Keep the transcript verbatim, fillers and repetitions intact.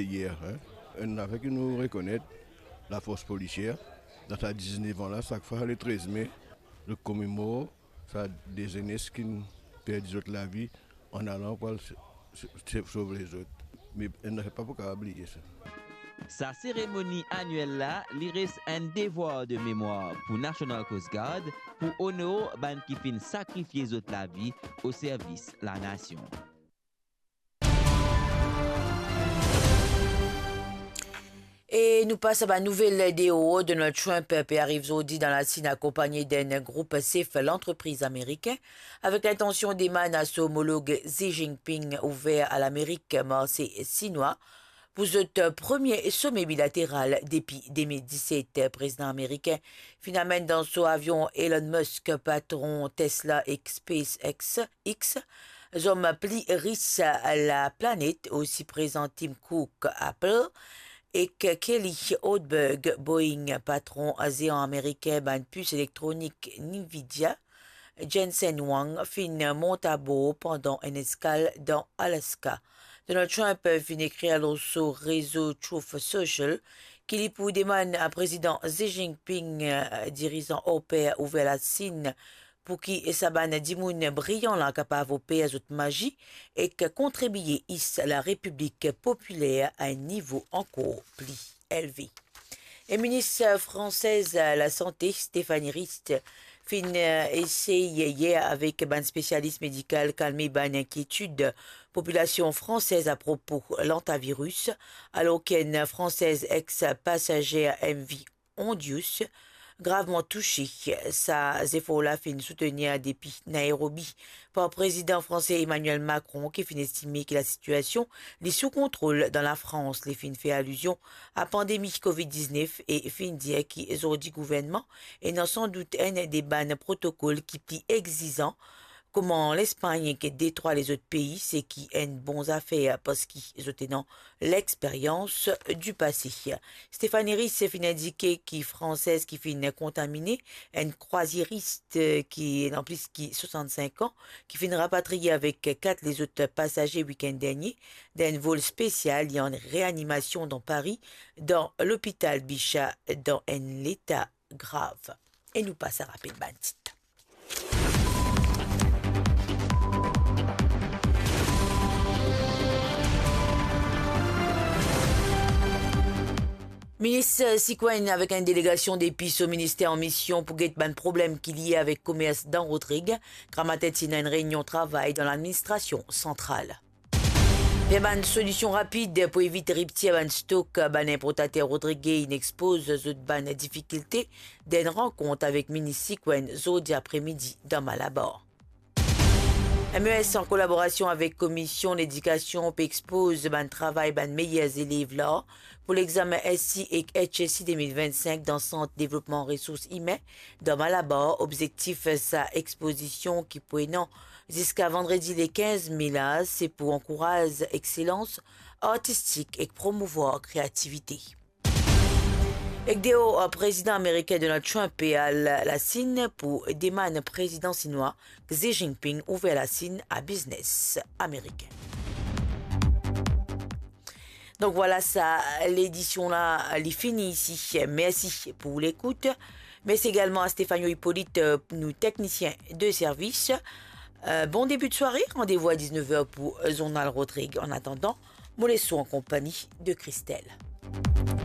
Yer, hein, enn zafer ki nou rekonet, lafors polisier, dan sa diznef an la, sak fwa le trez me, zot komemor sa de zenes ki perdi zot lavi an alan pou al s-, s-, s-, sov lezot. Me enn zafer pa pou kapav bliye sa. Sa seremoni aniel la, li res enn devwar de memwar pou National Coast Guard, pou onor bann ki finn sakrifie zot lavi o servis lanasion. E nou pas a bann nouvel deor. Donald Trump pe ariv zordi dan Lasinn akonpagne d'enn group sef lantrepriz amerikin, avek lintansion demann a so omolog Xi Jinping ouver a Lamerik marse sinwa pou zot premie some bilateral depi de mil diset. Prezidan amerikin finn amenn dan so avion Elon Musk, patron Tesla ek SpaceX, X, zom pli ris laplanet, osi prezan Tim Cook, Apple, ek Kelly Holdberg, Boeing. Patron zean amerikin bann pis elektronik Nvidia, Jensen Huang, finn mont abor pandan enn eskal dan Alaska. Donald Trump finn ekrir lor so rezo Truth Social ki li pou demann a Prezidan Xi Jinping, dirizan orper ouver Lasinn, pou ki sa bann dimoun briyan la kapav oper zot mazi ek kontribie is Larepiblik Popiler a enn nivo ankor pli elve. E minis fransez lasante, Stéphanie Rist, finn esey yer avek bann spesialis medikal kalme bann inkietid popilasion fransez apropo lantaviris, alor ki enn fransez ex pasazer M V Ondius gravman touse. Sa zefor la finn soutenir depi Nairobi par Prezidan franse Emmanuel Macron, ki finn estime ki lasitiasion li sou kontrol dan Lafrans. Li finn fer alizion a pandemi covid diznef e finn dir ki zordi gouvernman ena sandout enn de bann protokol ki pli exizan, kouma Lespagn ek detrwa lezot pei, seki enn bon zafer parski zot ena lexperyans dipase. Stéphanie Rist finn indike ki fransez ki finn kontamine, enn krwazieris ki ena plis ki swasannsink an, ki finn rapatriye avek kat lezot pasaze wikenn dernie dan enn vol spesial, li an reanimasion dan Pari, dan lopital Bichat, dan enn leta grav. E nou pas a rapel bann tit. Minis Sikwenn avek enn delegasion depi so minister an mision pou get bann problem ki lie avek komers dan Rodrig. Gramatin ti ena enn reinion travay dan ladministrasion santral. Fer bann solision rapid pou evit riptir bann stok, bann inportater Rodrig inn expoz zot bann difikilte dan enn rankont avek minis Sikwenn zordi apremidi dan Malabar. M E S, an kolaborasion avek Komision Ledikasion, pe expoz bann travay bann meyer zelev la pou lexamen S C ek H S C de mil vinn-sink dan Sant Devlopman Resours Imin dan Malabar. Obzektif sa expozision ki pou ena ziska vandredi le kinz me la, se pou ankouraz exselans artistik ek promouvwar kreativite. Ek deor, Prezidan amerikin Donald Trump pe al Lasinn pou demann Prezidan sinwa Xi Jinping ouver Lasinn a biznes amerikin. Donk vwala sa, ledision la, li fini isi. Mersi pou lekout. Mersi egalman a Stefano Hippolyte, euh, nou teknisien de servis. Euh, bon debi de sware, randevou a diznef er pou, euh, zournal Rodrig. An atandan, mo les ou an konpagni de Christelle.